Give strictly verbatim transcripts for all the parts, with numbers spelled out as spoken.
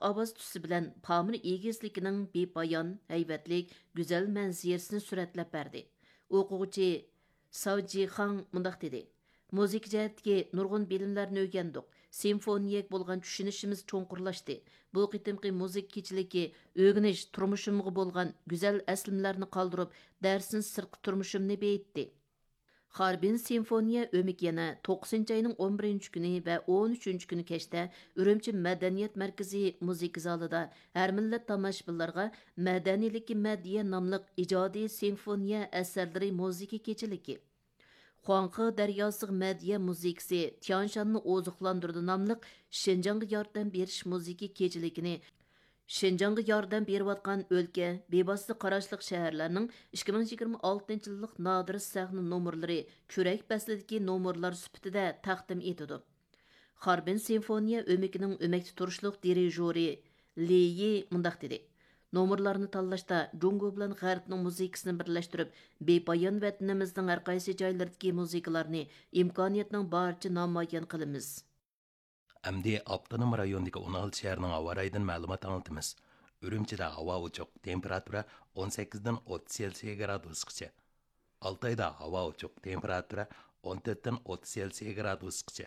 ئاۋاز تۈسى بىلەن پامىر ئېگىزلىكىنىڭ بىپايان، ھەيۋەتلىك، گۈزەل مەنزىرىسىنى سۈرەتلەپ بەردى. ئوقۇغۇچى ساۋ جىخاڭ مۇنداق دېدى: مۇزىكا جەھەتتىكى نۇرغۇن بىلىملەرنى ئۆگەندۇق. سىمفونىيەگە بولغان چۈشىنىشىمىز چوڭقۇرلاشتى. بۇ قېتىمقى مۇزىكا كېچىلىكى ئۆگىنىش، تۇرمۇشۇمغا بولغان گۈزەل ئەسلىمىلەرنى قالدۇرۇپ، دەرسىن سىرتقى تۇرمۇشۇمنى بېيىتتى. خاربىن سىمفونىيە ئۆمىكى يەنە توققۇزىنچى ئاينىڭ ئون بىرىنچى كۈنى ۋە ئون ئۈچىنچى كۈنى كەچتە ئۈرۈمچى مەدەنىيەت مەركىزى مۇزىكا زالىدا ھەر مىللەت تاماشىبىنلارغا مەدەنىيلىككە مەدھىيە ناملىق ئىجادىي سىمفونىيە ئەسەرلىرى مۇزىكا كېچىلىكى، خۇاڭخې دەرياسىغا مەدھىيە مۇزىكىسى تيانشاننى ئوزۇقلاندۇرىدۇ ناملىق شىنجاڭغا ياردەم بېرىش مۇزىكا كېچىلىكىنى، شىنجاڭغا ياردەم بېرىۋاتقان ئۆلكە، بىۋاسىتە قاراشلىق شەھەرلەرنىڭ ئىككى مىڭ يىگىرمە ئالتىنچى يىللىق نادىر سەھنە نومۇرلىرى كۈرەك پەسلىدىكى نومۇرلار سۈپىتىدە تەقدىم ئېتىدۇ. خاربىن سىمفونىيە ئۆمىكىنىڭ ئۆمەكتە تۇرۇشلۇق دىرىژورى لى يى مۇنداق دېدى: نومۇرلارنى تاللاشتا جۇڭگو بىلەن غەربنىڭ مۇزىكىسىنى بىرلەشتۈرۈپ، بىپايان ۋەتىنىمىزنىڭ ھەر قايسى جايلىرىدىكى مۇزىكىلارنى ئىمكانىيەتنىڭ بارىچە نامايان قىلىمىز. ئەمدى ئاپتونوم رايوندىكى ئون ئالتە شەھەرنىڭ ھاۋا رايىدىن مەلۇمات ئاڭلىتىمىز. ئۈرۈمچىدە ھاۋا ئوچۇق، تېمپېراتۇرا ئون سەككىزدىن ئوتتۇز سېلسىيە گرادۇسقىچە. ئالتايدا ھاۋا ئوچۇق، تېمپېراتۇرا ئون تۆتتىن ئوتتۇز سېلسىيە گرادۇسقىچە.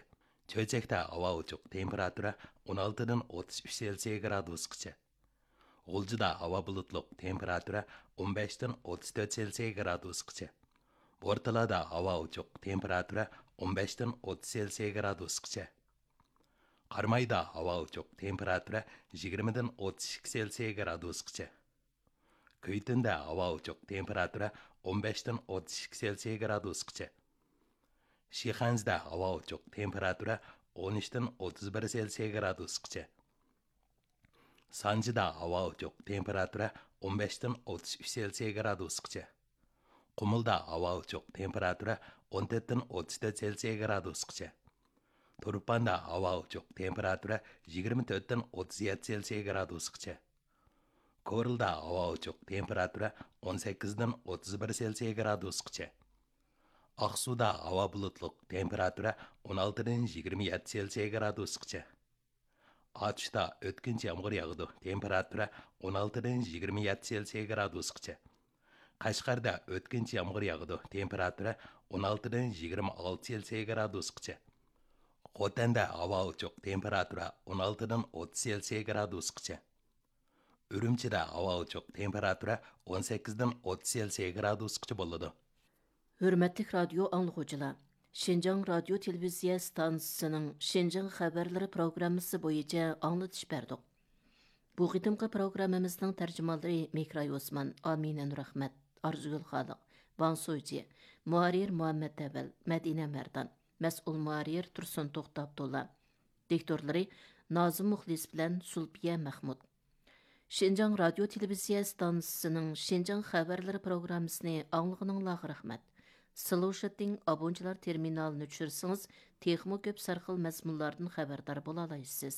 چۆچەكتە ھاۋا ئوچۇق، تېمپېراتۇرا ئون ئالتىدىن ئوتتۇز ئۈچ سېلسىيە گرادۇسقىچە. غۇلجىدا ھاۋا بۇلۇتلۇق، تېمپېراتۇرا ئون بەشتىن ئوتتۇز تۆت سېلسىيە گرادۇسقىچە. بورتالادا ھاۋا ئوچۇق، تېمپېراتۇرا ئون بەشتىن ئوتتۇز سېلسىيە گرادۇسقىچە. قارامايدا ھاۋا ئوچۇق، تېمپېراتۇرا يىگىرمىدىن ئوتتۇز ئىككى سېلسىيە گرادۇسقىچە. كۈيتۈندە ھاۋا ئوچۇق، تېمپېراتۇرا ئون بەشتىن ئوتتۇز ئىككى سېلسىيە گرادۇسقىچە. شىخەنزىدە ھاۋا ئوچۇق، تېمپېراتۇرا ئون ئۈچتىن ئوتتۇز بىر سېلسىيە گرادۇسقىچە. سانجىدا ھاۋا ئوچۇق، تېمپېراتۇرا ئون بەشتىن ئوتتۇز ئۈچ سېلسىيە گرادۇسقىچە. قۇمۇلدا ھاۋا ئوچۇق، تېمپېراتۇرا ئون تۆتتىن ئوتتۇز تۆت سېلسىيە گرادۇسقىچە. تۇرپاندا ھاۋا ئوچۇق، تېمپېراتۇرا يىگىرمە تۆتتىن ئوتتۇز يەتتە سېلسىيە گرادۇسقىچە. كورلىدا ھاۋا ئوچۇق، تېمپېراتۇرا ئون سەككىزدىن ئوتتۇز بىر سېلسىيە گرادۇسقىچە. ئاقسۇدا ھاۋا بۇلۇتلۇق، تېمپېراتۇرا ئون ئالتىدىن يىگىرمە يەتتە سېلسىيە گرادۇسقىچە. ئاتۇشتا ئۆتكۈنچى يامغۇر ياغىدۇ، تېمپېراتۇرا ئون ئالتىدىن يىگىرمە يەتتە سېلسىيە گرادۇسقىچە. قەشقەردە ئۆتكۈنچى يامغۇر ياغىدۇ، تېمپېراتۇرا ئون ئالتىدىن يىگىرمە ئالتە سېلسىيە گرادۇسقىچە. خوتەندە ھاۋا ئوچۇق، تېمپېراتۇرا ئون ئالتىدىن ئوتتۇز سېلسىيە گرادۇسقىچە. ئۈرۈمچىدە ھاۋا ئوچۇق، تېمپېراتۇرا ئون سەككىزدىن ئوتتۇز سېلسىيە گرادۇسقىچە بولىدۇ. ھۆرمەتلىك رادىيو ئاڭلىغۇچىلار، شىنجاڭ رادىيو تېلېۋىزىيە ئىستانسىسىنىڭ شىنجاڭ خەۋەرلىرى پروگراممىسى بويىچە ئاڭلىتىش بەردۇق. بۇ قېتىمقى پروگراممىمىزنىڭ تەرجىمانلىرى مېھراي ئوسمان، ئامىنە نۇرئەخمەت، ئارزۇگۈل خالىق، ۋاڭ سۇجى، مۇھەررىر مۇھەممەت ئەۋەل، مەدىنە مەردان، مەسئۇل مۇھەررىر تۇرسۇن توختى ئابدۇللا، دىكتورلىرى نازىم مۇخلىس بىلەن زۇلپىيە مەخمۇت. شىنجاڭ رادىيو تېلېۋىزىيە ئىستانسىسىنىڭ شىنجاڭ خەۋەرلىرى پروگراممىسىنى ئاڭلىغىنىڭلارغا رەھمەت. سلوشىتىڭ ئابونچىلار تېرمىنالىنى چۈشۈرسىڭىز، تېخىمۇ كۆپ سەرخىل مەزمۇنلاردىن خەۋەردار بولالايسىز.